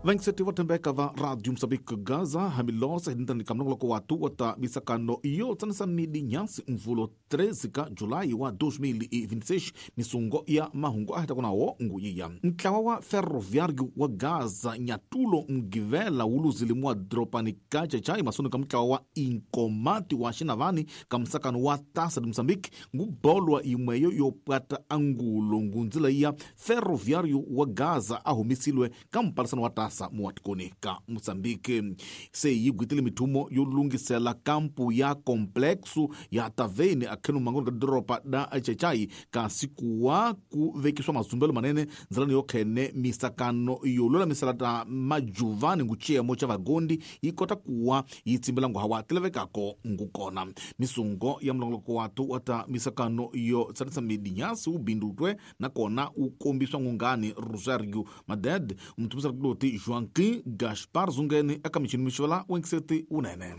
Vaingiseti vo tshembeka va Radio Mozambique Gaza hambilose hi ka mulongoloko wa tu wa ta misakano yo tsanisa midi nyasi mvulo 13 ka Julayi wa 2026 misungo ya mahungu a heta kunawo nguyiya ntlawa wa ferroviário wa Gaza nyatulo mgivela wu luzile mua dropani ka Chachai masoni ka mutlawa wa Inkomati wa Xinavani ka musakano wa Taça de Moçambique ngubolwa yimweyo yo pwata angulo ngundzila ya ferroviário wa Gaza a humisilwe ka mpalisano wa Taça muwatikoni ka Moçambique se yi gwitile mithumo yo lungisela kampu ya complexo ya Taveni akhenu mangoni ka doropa da Chachai kasi kuwa ku vekiswa mazumbelo manene ndzalani yo khene misakano yo lulamisela ta majuvani nguciyemo ca vagondi yi kota kuwa yi tsimbela nguhawa tilavekako ngukona misungo ya mulongoloko watu wa ta misakano yo tsanisa midinyasi wu bindutwe nakona wu kombiswa ngungani Rosario Maded muthumisela kuloti Joaquim Gaspar Zungeni eka michini mixivela wengiseti wunene.